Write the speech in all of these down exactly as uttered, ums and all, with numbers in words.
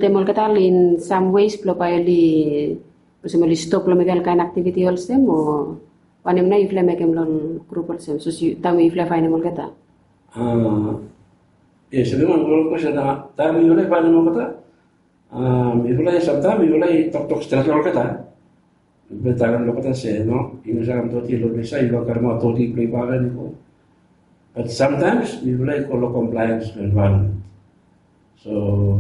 Tem olgeta in sam wes blong bae oli olsem oli stop long mekem ol kaen aktiviti olsem o wanem nao yufala i mekem long ol grup olsem sapos taem we yufala i faenem olgeta? Yes, oli wan gud kwestin. Taem yufala i faenem olgeta, yufala i samtaem yufala i toktok stret long olgeta. Yufala i talem long olgeta se no, yumi save kam toti long ples ya, yufala karemaot toti blong yufala i go. Bat samtaem yufala i go long komplaens long envaeronmen. So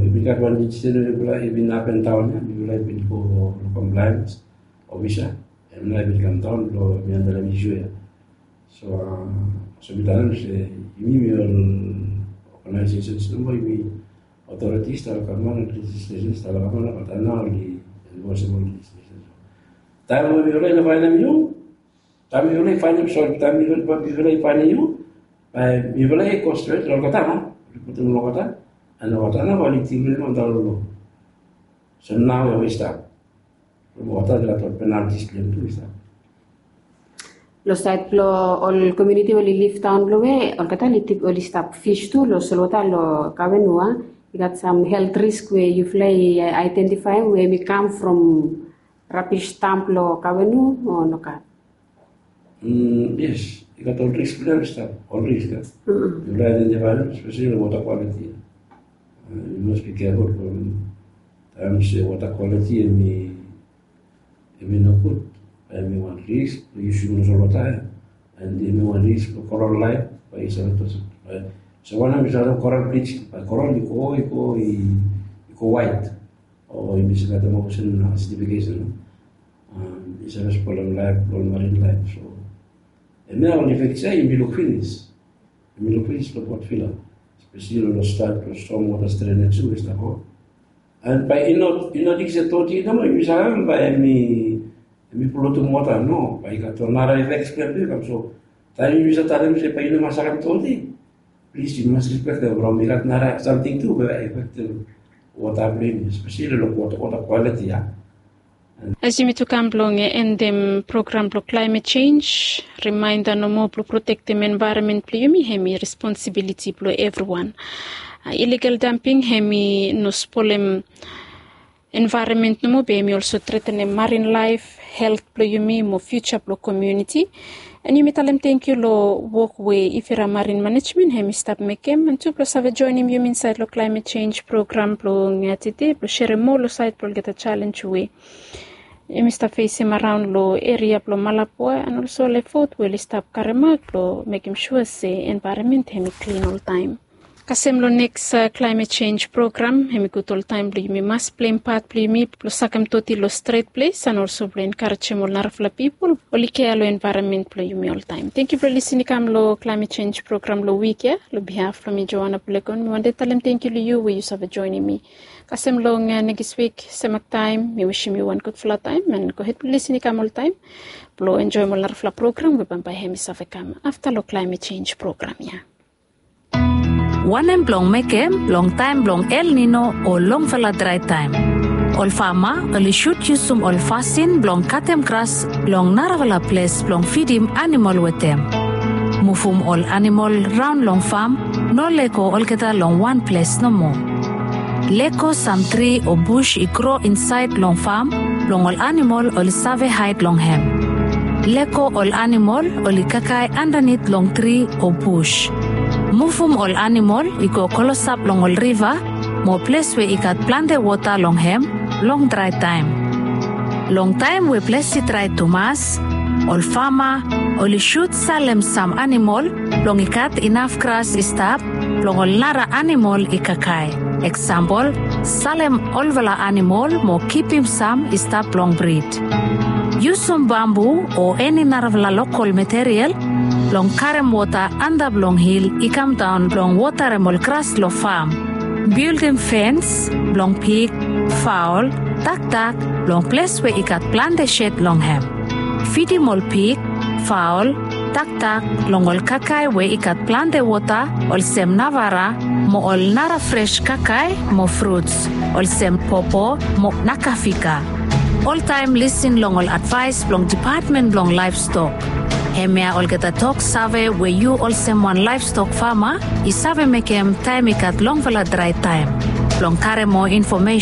yumi gat wan insidens we yufala i bin apen daon ya, yufala i bin go long komplaens ofisa, em nao i bin kam daon blong mi handolem isu ya. So so mi talem se yumi, mi ol oganaesesens nomo, yumi otoritis tale gavman, lejislesen tale gavman, bat nao oli enforsim ol lejislesen. Taem we mifala i no faenem yu, taem mifala i faenem, sori, taem mifala i faenem yu, bae mifala i go stret long olgeta nao, oli putum long olgeta, and olgeta nao bae oli tingbaot antap long lo. So nao we i stap. Olgeta i gat ol penaltis blong hem tu i stap. Long saed blong ol komuniti we oli liv daon blong we olgeta oli stap fis tu long solwota long Kawenu, a i gat sam helt risk we yufala i aedentifaem we hemi kam from rabis damp long Kawenu o nogat? Yes, i gat ol risk blong hem i stap, ol risk ya. Yufala aedentifaem, espeseli long wota kwaliti ya. Yu mas bi keful from taem se wota kwaliti hemi, hemi nogud, bae hemi wan risk blong yusum long solwota ya, and hemi wan risk blong koral laef bae i save, bae, so wanem, yu save koral blij, bae koral i go, i go, i go waet, o yumi save talem olsem asitifikesen, i save spolem laef blong ol marin laef. So hemia ol ifek ya yumi luk finis, yumi luk finis long Port Vila, espeseli long staet long storm wota, strenaj we i stap go. And bae i no, i no ting se toti nomo yumi saem bae hemi, hemi polutum wota, no, bae i gat ol nara ifek blong hem tu i kam. So taem yumi save talem se bae yu no mas saem toti, plis yu mas rispektem from i gat nara samting tu we i afektem wota blong yumi, espeseli long wota, wota kwaliti ya. As yumi tu kam blong endem program blong klaemet jenj, rimaenda nomo blong protektem envaeronmen blong yumi hemi responsibiliti blong evriwan. Iligal damping hemi no spolem envaeronmen nomo, be hemi olso tretenem marin laef, helt blong yumi mo fiuja blong komuniti. And yumi talem tangkiu long wok we Ifira Marin Manejmen hemi stap mekem, and tu blong save joenem yumi insaed long klaemet jenj program blong tede blong serem moa long saed blong olgeta jalenj we yumi stap fesem araon long eria blong Malabwa and olso ol efot we oli stap karemaot blong mekem sua se envaeronmen hemi klin oltaem. Kasem long neks klaemet jenj program, hemi gud oltaem blong yumi mas pleim pat blong yumi blong sakem toti long stret ples and olso blong enkarejem ol narafala pipol oli kea long envaeronmen blong yumi oltaem. Tangkiu blong lisin i kam long klaemet jenj program long wik ya. Long bihaf blong mi, Joana Bulekon, mi wantem talem tangkiu long yu we yu save joenem mi. Kasem long nekis wik semak taem, mi wisim yu wan gudfala taem, and gohed blong lisin i kam oltaem blong enjoem ol narafala program we bambae hemi save kam afta long klaemet jenj program ya. Wanem blong mekem long taem blong El Nino o longfala drae taem? Ol fama oli sud yusum ol fasin blong katem gras long narafala ples blong fidim anamol wetem. Muvum ol anamol raon long fam, no lego olgeta long wan ples nomo. Lego sam tri o bus i gro insaed long fam blong ol anamol oli save haed long hem. Lego ol anamol oli kakae andanit long tri o bus. Muvum ol anamol i go klosap long ol riva mo ples we i gat plante wota long hem long drae taem. Long taem we ples i drae tumas, ol fama oli sud salem sam anamol blong i gat inaf gras i stap blong ol nara anamol i kakae. Eksampol, salem olfala anamol mo kipim sam i stap long brid. Yusum bambu o eni narafala lokol material blong karem wota antap long hil i kamdaon blong wotarem ol gras long fam. Bildim fens blong pig, faol, dakdak long ples we i gat plante sed long hem. Fidim ol pig, faol, dakdak long ol kakae we i gat plante wota olsem navara mo ol nara fres kakae mo fruts olsem popo mo nakafika. Oltaem lisin long ol advaes blong Dipatmen blong Laevstok. Hemia olgeta tok save we yu olsem wan laevstok fama i save mekem taem i gat longfala drae taem. blong karim moa infomesen.